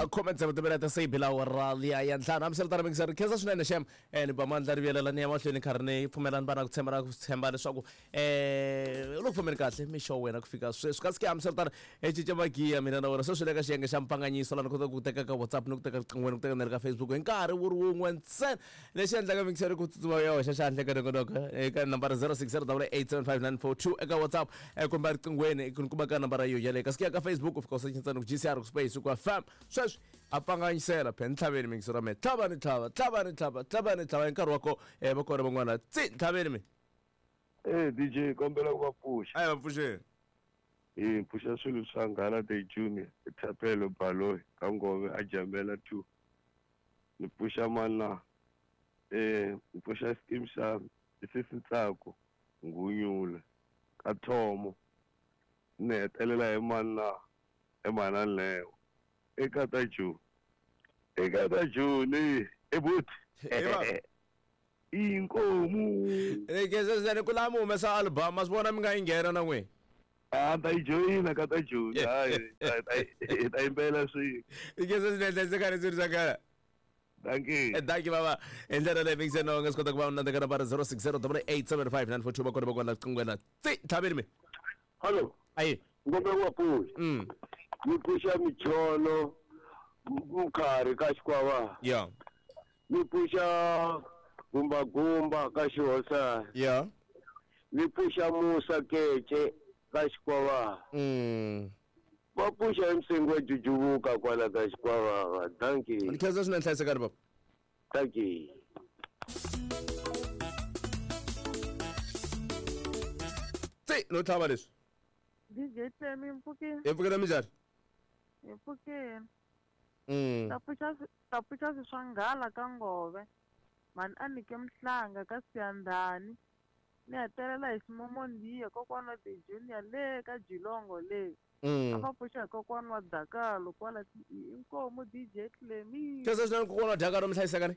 Khume tsevu timinete se yi bile awara liya ya ntlhanu. Hambiswiritano mingiseri khensa swinene xem ni ba mandla ri vuyelela ni ya mahlweni karhi ni pfumelani va na ku tshemba na ku tshemba leswaku u le ku fambeni kahle mixo wa wena ku fika sweswi. Kasi ke hambiswiritano hi cinca magiya mina na wena sweswi le ka xiyenge xa mpfanganyiso laha ni kota ku teka ka WhatsApp ni ku teka riqinghweni ku teka na le ka Facebook hi nkarhi wu ri wun'we ntsena. Lexi endlaka mingiseri ku tsutsuma ya hoxa xandla eka nongonoko eka nambara 0608875942 eka WhatsApp kumbe riqinghweni ku ni kuma ka nambara yo yaleyo. Kasi ku ya ka Facebook u fika u secha ntsena ku GCR ku space ku FM. Sweswi a pfanganyisela phe ni tlhaveni mingiseri wa mina tlhava ni tlhava tlhava ni tlhava tlhava ni tlhava hi nkarhi wa ko va kona van'wana tsi tlhaveni mi. Eh DJ kombela ku va pfuxa. A hi va pfuxeni. Hi pfuxa swilo swa Nghala the Junior, Thapelo Baloyi ka Ngove a Jambela 2. Ni pfuxa mani na? Eh ni pfuxa scheme xa Sisi Ntsako Ngunyula ka Thomo. Ni hetelela hi mani na? I Mhana Neo eka ta Joni. Eka ta Joni e buti. Inkomu. Ni ku lava mi humesa album ma swi vona mi nga yi nghena na n'wina. A ta yi joyina ka ta Joni hayi hi ta yimbela swin'we. Ikese swinene hlayisekani swilo swa kala. Dankie. Dankie baba. Hi ndlela leyi mingiseni na nga swi kota ku va na ka nambara 0608875942 va kona va kona qingwela. Tsi tlhaveni mi. Hello. Ayi. Ngombe wa pfuxa. Ni pfuxa micholo mkhari ka xikwava. Yeah. Ni pfuxa gumba gumba ka xihosa. Yeah. Ni pfuxa Musa Kece ka xikwava. Va pfuxa hi msengo wa jujuvuka kwala ka xikwavava. Dankie. Ni khensa swinene hlayisekani baba. Dankie. Tsi no tlhava leswi. DJ Temi mpfukeni. Hi pfukile minjhani? Hi pfukile. Ta pfuxa swi swa nghala ka Ngove. Mhani a nike mhlanga ka Siyandhani. Ni hetelela hi Ximomondiya kokwana wa The Junior le ka Jilongo le. A va pfuxa hi kokwana wa Dakalo kwala inkomu DJ Clemi. Khensa swinene kokwana wa Dakalo mi hlayisekani.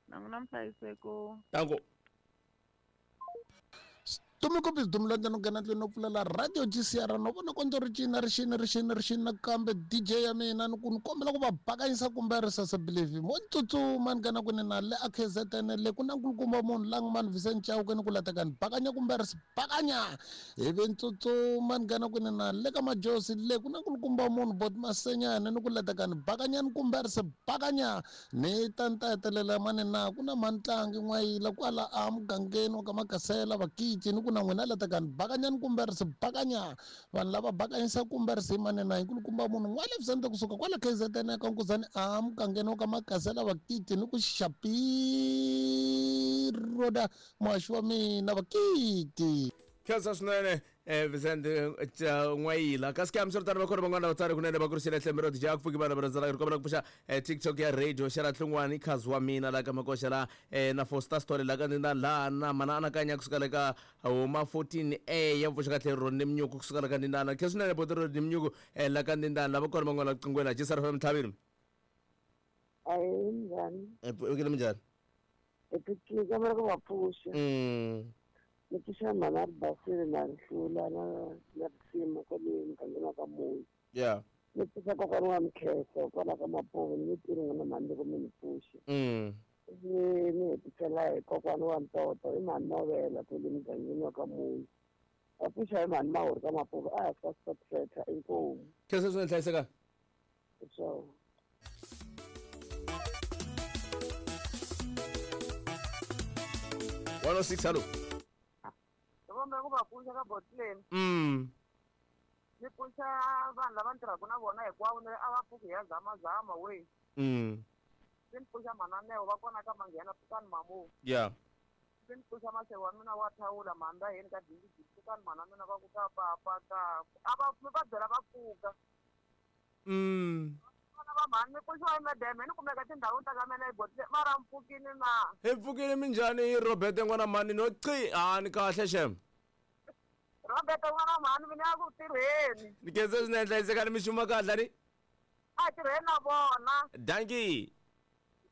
Na n'wina mi hlayiseko. Danko. Tumikopis dumulanda no nghena ndlwini no pfulela radio GCR no vona kondzo ri cina ri xini ri xini ri xini nakambe DJ ya mina ni ku ni kombela ku va bakanyisa kumbe ri sasa believe mo tsutsuma ni nghena kwini na le a KZN le ku na nkulukumba munhu la nga mani Vincent Chauke ni ku lateka ni bakanya kumbe ri bakanya ivi ni tsutsuma ni nghena kwini na le ka Majosi le ku na nkulukumba munhu Bot Masenyane ni ku lateka ni bakanya ni kumbe ri se bakanya ni ta ni ta hetelela mani na ku na mantlangi n'wayila kwala a mugangeni wa ka Makasela vakici ni ku na n'wina lateka ni bakanya ni kumbe ri se bakanya vanhu lava bakanyisa kumbe ri se mani na nkulukumba munhu n'wale Vicente kusuka kwala KZN ka Nkuzani a mugangeni wa ka Makasela vakici ni ku xapiroda muhaxi wa mina vakiti. Khensa swinene Vicente N'wayila. Kasi ke hambiswiritano va kona van'wana vatsari kunene va kurisile hlembe ro dya ku pfuki vanhu va rhandzana ri kombela ku pfuxa TikTok ya radio xela hlungwani khazi wa mina la ka makoxa la na Foster Story la ka ni na la na mana anakanya kusuka le ka huma 14A ya pfuxa kahle ro ni mnyuku kusuka le ka ndindana. Khensa swinene boti ro ni mnyuku la ka ndindana lava kona van'wana qingwela Jisara FM Tlhavini. Ayi njhani? Pfukile minjhani? Hi pfukile kombela ku va pfuxa. Ni pfuxa mhana ri basile na rihlula na na risima kwale mugangeni wa ka Munhu. Yeah. Ni pfuxa kokwana wa Mkheso kwala ka Mapuve ni tirhi n'wina mhani loko mi ni pfuxa. Ni ni hetisela hi kokwana wa Ntoto i mhani Novela kwale mugangeni wa ka Munhu. Va pfuxa hi mhani Mahuri ka Mapuve a hansi ka stop setter inkomu. Khensa swinene hlayiseka. So. 106 hello. Vombe ku va pfuxa ka botleni. Ni pfuxa vanhu lava ni tirhaka na vona hinkwavo ni a va pfuki hi ya zamazama we. Ni pfuxa mananeo va kona ka manghena pfukani mamu. Yeah. Ni pfuxa maseve wa mina wa thawula mhanda yeni ka dindidi pfukani mhana mina va ku ka papa ka a va mi va byela va pfuka. Vana va mhani ni pfuxiwa hi mademe ni kumeka tindhawini ta ka mina hi botleni mara mpfukini na. Hi pfukile minjhani hi Robert n'wana mhani no qi a ni kahle xem. Robert n'wana mhani mina ya ku tirheni. Ni khensa swinene hlayisekani mi xuma kahle ni. A tirheni na vona. Dankie.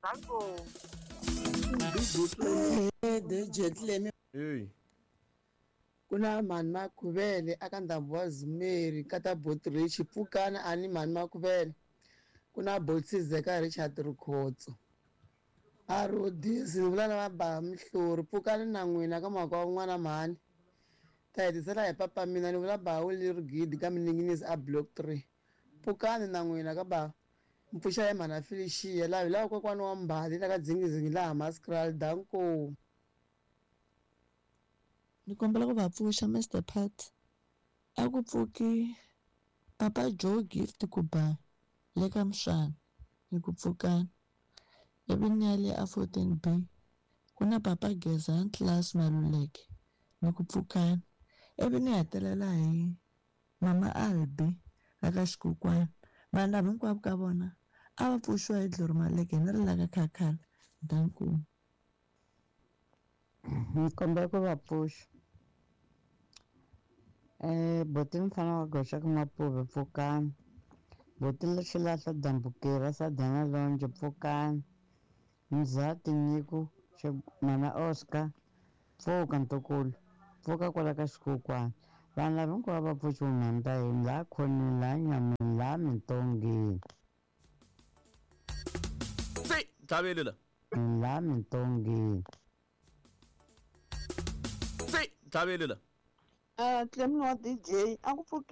Danko. DJ Clemi. Hey. Kuna mhani Makhuvele aka ndhambi wa Zimeri ka ta Botrich pfukana ani mhani Makhuvele. Ku na Botsizeka Richard Rikhotso. A Rhodisi ni vula na va ba Mihlori pfukani na n'wina ka mhaka wa n'wana mhani. Ta hetisela hi papa mina ni vula ba Willie Rigidi ka Mininginisi a block 3. Pfukani na n'wina ka ba mpfuxa hi mhana Felicia laha hi lava kokwani wa Mbali la ka Dzingizingi laha Maskraal danko. Ni kombela ku va pfuxa Mister Pat. A ku pfuki Papa Joe Gift ku ba le ka Mswana ni ku pfukani. Ivi ni ya le a 14B ku na Papa Gezani Class Maluleke ni ku pfukani. Ivi ni hetelela hi Mama Albi la ka Xikukwana. Vanhu lava hinkwavo ka vona a va pfuxiwa hi Glory Maleke ni ri la ka Khakhala. Danko. Ni kombela ku va pfuxa. Buti mfana wa goxa ka Mapuve pfukani. Buti Xilahla Dambukira Sadana Lonjo pfukani. Mzati Nyiko Mana Oscar pfuka ntukulu pfuka kwala ka xikukwana. Vanhu lava hinkwavo va pfuxiwa mhani ta yini laha khoneni laha nyameni laha mintongeni. Se tlhaveli la. Laha mintongeni. Se tlhaveli la. Clem wa DJ a ku pfuki